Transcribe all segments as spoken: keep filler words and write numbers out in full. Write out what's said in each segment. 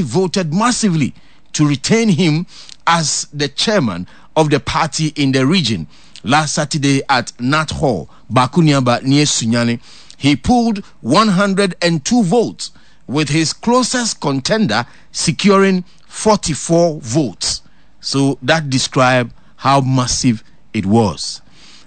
party voted massively to retain him as the chairman of the party in the region. Last Saturday at Nat Hall, Bakuniaba near Sunyani, he pulled one hundred and two votes, with his closest contender securing forty-four votes. So that describes how massive it was.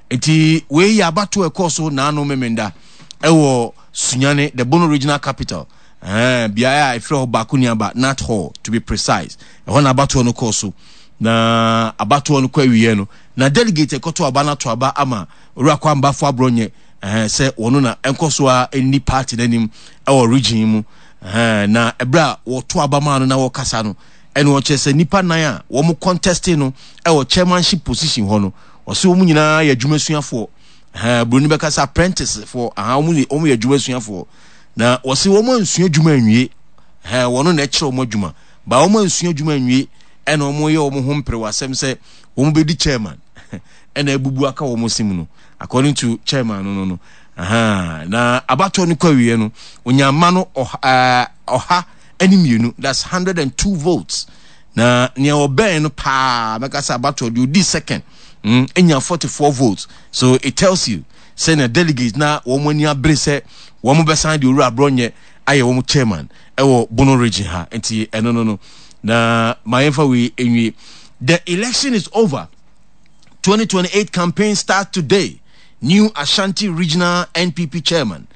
Nti wei yɛ abato ɛkɔɔ so naano Memenda ɛwɔ Sunyani, the Bono Regional Capital, ɛɛ beaeɛ a ɛfrɛ hɔ Baako Nat Hall to be precise. Ɛhɔ na abatoɔ no kɔɔ so, na abatoɔ no kɔ awieɛ no, na delegate ɛkɔto aba no ato aba ama Owura Kwame Baffoe Abronye ɛɛ sɛ wɔn na ɛnkɔ so a ɛnni party n'anim ɛwɔ region mu. ɛɛ na ɛberɛ a wɔto aba maa no na wɔkasa no, ɛna ɔkyerɛ sɛ nipa nan a wɔn contest no ɛwɔ chairmanship position hɔ no, ɔsɛ wɔn nyinaa yɛ adwumasuafoɔ. Ɛɛ buroni bɛka sɛ apprentice foɔ aha, wɔn wɔn yɛ adwumasuafoɔ, na wɔsɛ wɔn ansua adwuma anwie. Ɛɛ wɔn na ɛkyerɛ wɔn adwuma ba, wɔn ansua adwuma anwie, ɛna wɔn yɛ wɔn ho mpere wɔ asɛm sɛ wɔn bɛdi chairman, ɛna ebubu aka wɔn sim no, according to chairman no no no aha. Na abatoɔ no kɔ awie no, onyama no ɔha ɛɛ ɔha ɛne mmienu, that's hundred and two votes, na nea ɔbɛn no paa mɛka sɛ abatoɔ deɛ odi second mm enya forty four votes. So it tells you sɛ na delegates na wɔn ani abere sɛ wɔn bɛsan de Owura Abronye ayɛ wɔn chairman ɛwɔ Bono Region ha. Nti ɛno no no na maa yɛn wei enwie. The election is over, twenty twenty-eight campaign start today. New Ashanti Regional N P P chairman,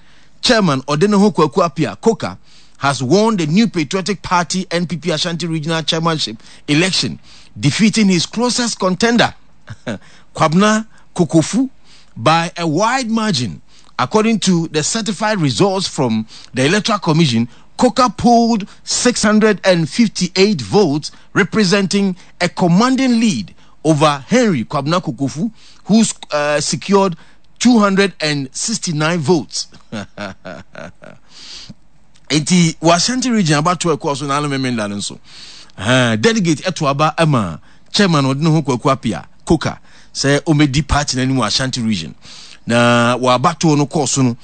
Chairman Odeneho Kwaku Appiah Koka, has won the New Patriotic Party, N P P, Ashanti Regional Chairmanship election, defeating his closest contender, Kwabena Kokofu, by a wide margin. According to the certified results from the Electoral Commission, Koka pulled six hundred fifty-eight votes, representing a commanding lead over Henry Kwabena Kokofu, who uh, secured two hundred sixty-nine votes. Nti wɔ Ashanti Region abatoɔ ɛkɔɔ so n'ano Memenda no nso, delegate ɛto aba ama chairman ɔde ne ho Kwaku Appiah Koka sɛ ɔmɛdi party n'anim wɔ Ashanti Region. Na wɔ abatoɔ no kɔɔ so no,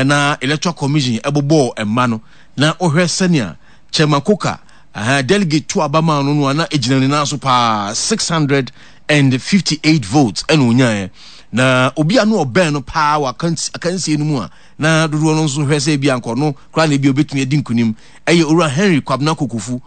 na Electoral Commission ɛbobɔɔ mma no, na ɔhwɛ sɛnea Chairman Koka delegate to aba maa no no a, na egyina ne nan so paa, six hundred and fifty eight votes ɛna onyaeɛ. Na obi a no ɔbɛn no paa wɔ akansie no mu a na dodoɔ no nso hwɛ sɛ ebi ankɔ no koraa na ebi obetumi adi nkunim ɛyɛ Owura Henry Kwabena Kokofu,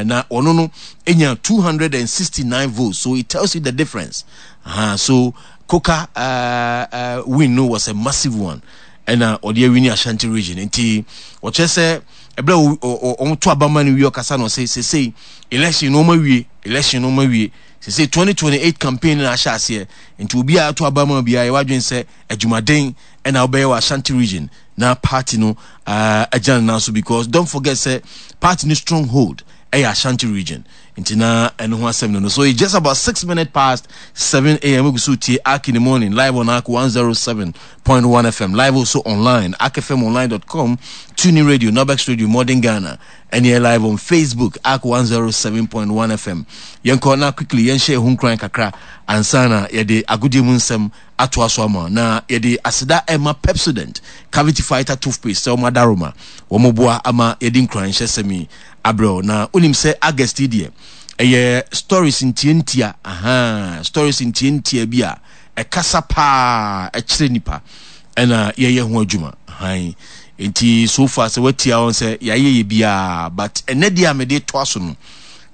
na ɔno no enya two hundred and sixty nine votes. So it tells you the difference. uh, so Koka uh, uh, win no was a massive one, ɛna ɔde awin Ashanti Region. Nti ɔkyerɛ sɛ ɛberɛ a wɔn to abama no wie, ɔkasa na ɔsɛ sesei election no wɔn awie, election no wɔn awie, sesei twenty twenty eight campaign na ahyɛ aseɛ. Nti obiara to abama biara, yɛ wadwin sɛ adwumaden ɛna ɔbɛyɛ wɔ Ashanti Region na party no agyina ne nan so, because don't forget sɛ party no stronghold ɛyɛ Ashanti Region. Nti na ɛno ho asɛm no no So it's just about six minutes past seven a m. Egu so tie Ark in the Morning live on Ark one oh seven point one F M, live also online, ark F M online dot com, TuneIn Radio, Nobex Radio, Modern Ghana, and here live on Facebook, Ark one oh seven point one F M. Yɛnkɔ na quickly yɛnhyɛ ɛho nkran kakra ansa na yɛde agodie mu nsɛm atoa so ama. Na yɛde aseda ɛma Pepsodent Cavity Fighter toothpaste sɛ wɔn adaroma wɔn boa ama yɛde nkran hyɛ sɛm yi abrɛw. Na onim sɛ August yi deɛ, ɛyɛ stories ntiantia, aha, stories ntiantia bi a ɛkasa paa ɛkyerɛ nipa, ɛna yɛyɛ ho adwuma han. Nti so far sɛ watia wɔn sɛ yɛayɛ yɛ biara, but ɛnɛ deɛ a mede toa so no,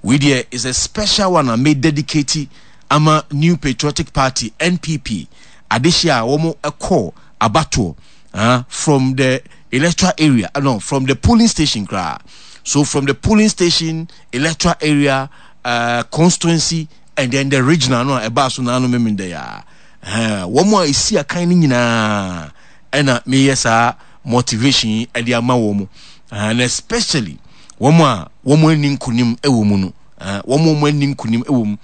wei deɛ is a special one a me dedicate ama New Patriotic Party, N P P, adehyɛ a wɔn kɔ abatoɔ uh, from the electoral area, uh, no, from the polling station koraa. So from the polling station, electoral area, uh, constituency and then the regional no a ɛbaa so naano Memenda ya, wɔn a esi akan no nyinaa, ɛna meyɛ saa motivation yi ɛde ama wɔn, and especially wɔn a wɔn ani nkunim ɛwɔ mu no, wɔn a wɔn ani nkunim ɛwɔ mu.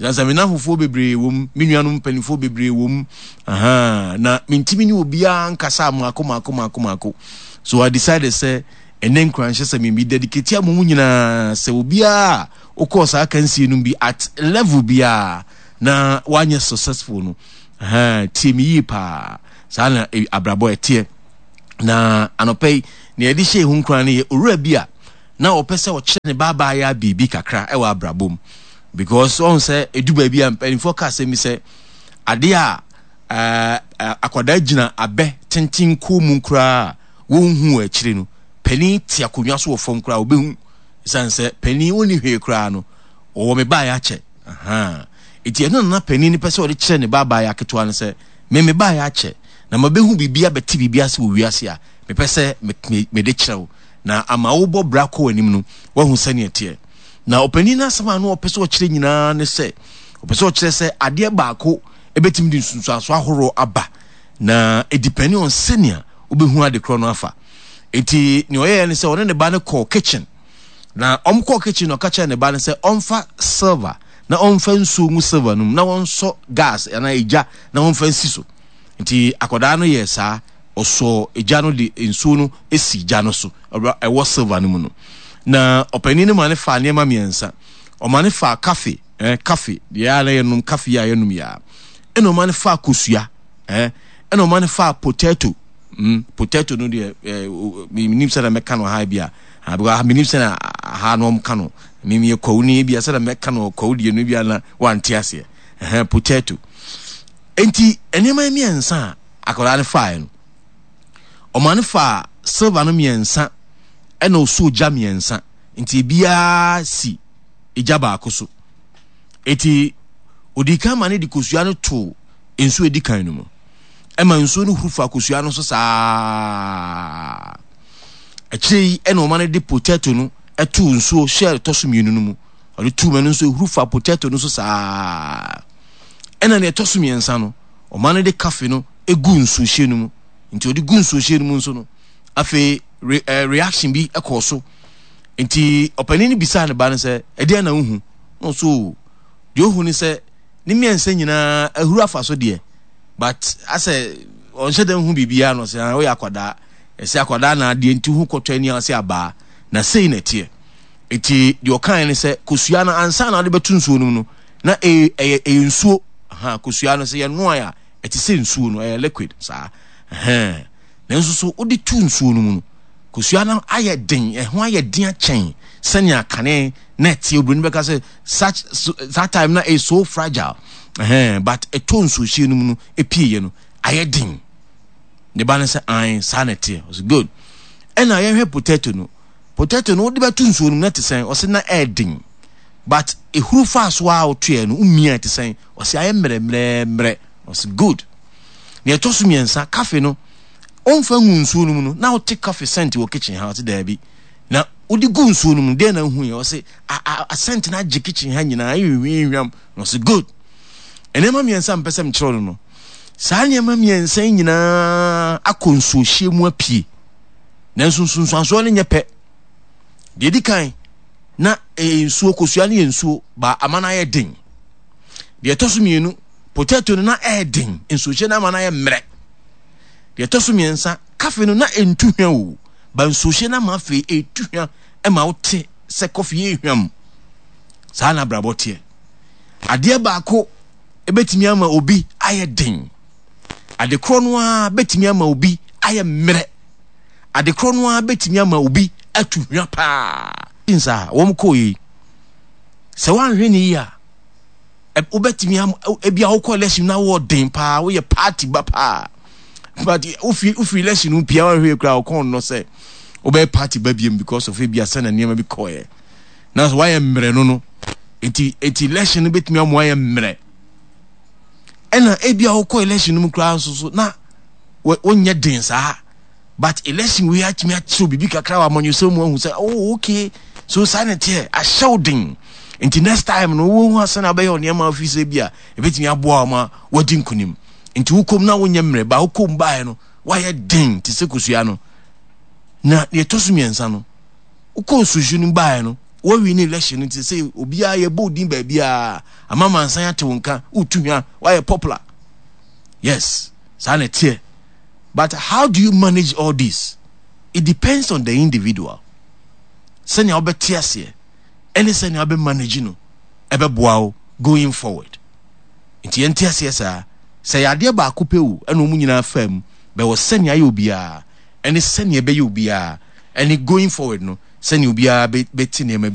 Sansa me nanfofoɔ bebree wɔ mu, me nuanom mpanimfoɔ bebree wɔ mu, na mentimi ne obiara nkasa maako maako maako maako. So I decided sɛ ɛnɛ nkuranhyɛ sɛ memi dedicate ama mu nyinaa sɛ obiara wokɔɔ saa kansie no bi at level biara na wanyɛ successful no, tie me yie paa. Saa na abrabɔ ɛteɛ. Na anɔpɛ yi, nea yɛde hyɛ ehu nkran no yɛ owura bi a Na ɔpɛ sɛ ɔkyerɛ ne ba abaayewa biribi kakra wɔ abrabɔ mu because ɔhu sɛ ɛdu baabi a mpanimfoɔ ka asɛm bi sɛ adeɛ a ɛɛ akwadaa gyina abɛ tenten kɔn mu koraa a wɔnhu wɔ akyire no, panin te akonnwa so wɔ fam koraa ɔbɛhu, ɛsiane sɛ panin ɔnni hwee koraa no ɔwɔ me baeɛ akyɛ. Ahaa. Enti ɛno na na panin no pɛ sɛ ɔde kyerɛ ne ba abaayewa ketewa no sɛ, me me baeɛ akyɛ na mabɛhu biribi abɛte biribi ase wɔ wiase a mepɛ sɛ mede kyerɛ wo na ama wobɔ bra kɔ w'anim no woahu sɛnea ɛteɛ. Na ɔpanin no asɛm a na ɔpɛ sɛ ɔkyerɛ nyinaa ne sɛ, ɔpɛ sɛ ɔkyerɛ sɛ adeɛ baako ɛbɛtumi de nsunsuansoɔ ahoroɔ aba na ɛdipɛne on sɛnea wobɛhu ade korɔ no afa. Enti nea ɔyɛɛ ne sɛ ɔne ne ba no kɔɔ kitchen. Na wɔkɔɔ kitchen na ɔka kyerɛɛ ne ba no sɛ ɔmfa silver na ɔmfa nsuo ngu silver no mu na wɔnsɔ gas anaa egya na wɔmfa nsi so. Nti akwadaa no yɛɛ saa, ɔsɔɔ egya no de nsuo no si gya no so ɛwɔ silver no mu no. Na ɔpanin no ma no faa nneɛma mmiɛnsa. Ɔma no faa kafe, eh, kafe, deɛ a na yɛnom kafe yi a yɛnom yi a. Ɛna ɔma no faa kosua, eh, ɛna ɔma no faa potato. Mm, potato no deɛ, eh, menim sɛ na mɛka no ha bi a, ah, because menim sɛ na ha no ɔmka no. Mem yɛ kwawu ni bi a sɛ na mɛka no kwawu deɛ no bi a na wante aseɛ. Eh, potato. Enti nneɛma mmiɛnsa a akwadaa no faeɛ no, ɔma no faa silver no mmiɛnsa ɛna ɔsɔɔ gya mmiɛnsa. Nti ebiara si egya baako so. Enti ɔdii kan ma no de kosua no too nsuo edi kan no mu. Ɛma nsuo no huru fa kosua no so saa. Akyire yi ɛna ɔma no de potato no ɛtoo nsuo hyɛ ɛtɔ so mmienu no mu. Ɔde too mu ɛno nso ehuru fa potato no so saa. Ɛna nea ɛtɔ so mmiɛnsa no, ɔma no de kafe no egu nsuohyɛ no mu. Nti ɔde gu nsuohyɛ no mu nso no, afei re, eh, reaction bi kɔɔ so. Nti ɔpanin no bisaa ne ba no sɛ, ɛdeɛn na wohu? Na ɔso o, deɛ ohu ne sɛ ne mmiɛnsa nyinaa ahuru afa so deɛ, but asɛ ɔnhyɛ da nhu biribiara. Na ɔsɛ, ah, woyɛ akwadaa. Ɛsɛ akwadaa na adeɛ nti ho kɔtɔ ani ase abaa. Na sei na ɛteɛ. Enti deɛ ɔkaeɛ ne sɛ, kosua no ansa na wode bɛto nsuo no mu no, na ɛyɛ ɛyɛ ɛyɛ nsuo. Aha, kosua no sɛ yɛnoae a, ɛte sɛ nsuo no, ɛyɛ liquid saa. Ɛhɛn. Nanso so wode to nsuo no mu no, kosua no ayɛ den, ɛho ayɛ den akyɛn sɛnea kane na ɛteɛ. Oburoni bɛka sɛ such so, that time na ɛyɛ so fragile. Ɛhɛn, but ɛtɔ nsuohyɛ no mu no, ɛpieeɛ no, ayɛ den. Ne ba no sɛ, ae, saa na ɛteɛ. Ɔsɛ good. Ɛna yɛhwɛ potato no. Potato no wode bɛto nsuo no mu na ɛte sɛn? Ɔse na ɛyɛ den but ehuru faa so a wotoeɛ no womia ɛte sɛn? Ɔse ayɛ mmerɛmmerɛmmerɛ. Ɔse good. Nea ɛtɔ so mmiɛnsa, kafe no ɔmfa ngu nsuo no mu no na wote kafe scent wɔ kitchen ha? Ɔse daabi. Na wode gu nsuo no mu deɛ na wohuiɛ? Ɔse a a scent no agye kitchen ha nyinaa, ɛyɛ hwihwam. Na ɔse good. Nneɛma mmiɛnsa mpɛ sɛ mekyerɛw no no, saa nneɛma mmiɛnsa yi nyinaa akɔ nsuohyɛ mu apue. Nanso nsunsuansoɔ no nyɛ pɛ. Deɛ ɛdi kan, na ɛyɛ nsuo, kosua no yɛ nsuo, ba ama no ayɛ den. Deɛ ɛtɔ so mmienu, potato no na ɛyɛ den, nsuohyɛ no ama no ayɛ mmerɛ. Deɛ ɛtɔ so mmiɛnsa, kafe no na ɛntu hwa o, ba nsuohyɛ no ama afei ɛtu hwa ma wote sɛ kɔfe yɛ hwam. Saa na abrabɔ teɛ. Adeɛ baako ɛbɛtumi ama obi ayɛ den. Ade korɔ no ara bɛtumi ama obi ayɛ mmerɛ. Ade korɔ no ara bɛtumi ama obi atu hwa paa. Nsa a wɔn kɔɔ yi, sɛ woanhwɛ ne yie a, wobɛtumi am ebi a wokɔ election na wɔ den paa, woyɛ party ba paa. But wofi wofi election no pia woanhwɛ yie koraa wɔkɔn no sɛ wobɛyɛ party ba biem because of ebi a sɛ na nneɛma bi kɔɔɛ. Nanso woayɛ mmerɛ no no, eti eti election no bɛtumi ama woayɛ mmerɛ. Ɛna ebi a wokɔ election no mu koraa nso so na wonyɛ den saa, but election wei atumi akyerɛw biribi kakra wɔ amanyɔsɛm mu ahu sɛ oh okay, so saa na ɛteɛ, ahyɛ wo den, nti next time no wohu asɛn a wobɛyɛ nneɛma afi sɛ bi a ɛbɛtumi aboa wo ma woadi nkonim. Nti wokɔm na wonyɛ mmerɛ ba wokɔm baeɛ no woayɛ den te sɛ kosua no. Na deɛ ɛtɔ so mmiɛnsa no, wokɔ nsuhye no baeɛ no wɔwi ne election no, nti sɛ obiara yɛbɔ wo din baabiara ama mansan ate wo nka, wotu hwa, woayɛ popular. Yes, saa na ɛteɛ. But how do you manage all this? It depends on the individual. Sɛnea wobɛte aseɛ ɛne sɛnea wobɛ manage no ɛbɛboa wo going forward. Nti yɛnte aseɛ saa sɛ yɛ adeɛ baako pɛ o, ɛna wɔn nyinaa faa mu bɛwɔ sɛnea ayɛ obiara ɛne sɛnea ɛbɛyɛ obiara ɛne going forward no. Sɛnea obiara bɛte nneɛma bi.